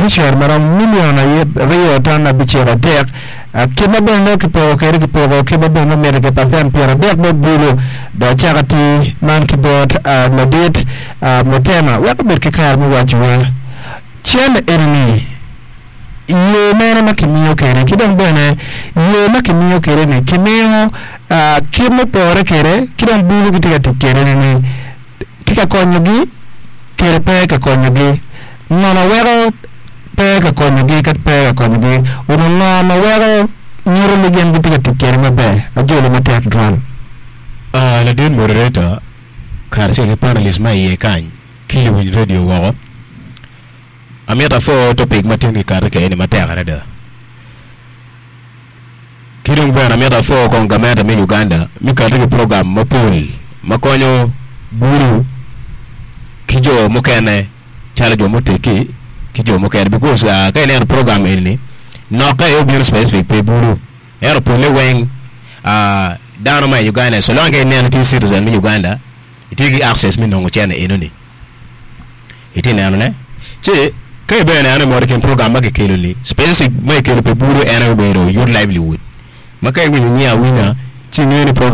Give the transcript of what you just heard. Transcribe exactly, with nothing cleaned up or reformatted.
Beneficiary marom million aryo ton abicel adek kit ma bene nongo kipoko kede kipoko kit ma bene nongo mitte ki percent pyera adek me bulu dok cako ati man ki bot ladit Mutema wek obed ki kare me wacowa cene eni-ni yo mene ma kimiyo kede ki dong bene yo ma kimiyo kede ni kimiyo kit me pore kede ki dong bulu gitye ka tic kede ni tye ka konyogi kede pe ka konyogi ngo ma weko pe ka konyogi ka pe ka konyogi onyo ngo ma weko nyuto ni gin gitye ka tic kede maber ajolo matek tutwal. Ladit moderator kacel ki panelist ma iye kany ki luwiny radio woko amito apwo topic ma tin kikato kwede ni matek adada ki dong bene amito apwo kong gamente me Uganda me kato ki program mapol ma konyo bulu ki jo mukene calo jo muteggi ki jo mukene because ka ineno program eni nokke aye obino specific pi bulu ento pole weng dano ma i Uganda so long ka ineno itye citizen me Uganda itye ki access me nongo cene enoni itye nenone ci ka ibedo neno ni mot i kin program ma kikelo ni specific ma kikelo pi bulu en aye obedo youth livelihood ma ka iwinyo nyinge awinya ci ingeyo ni program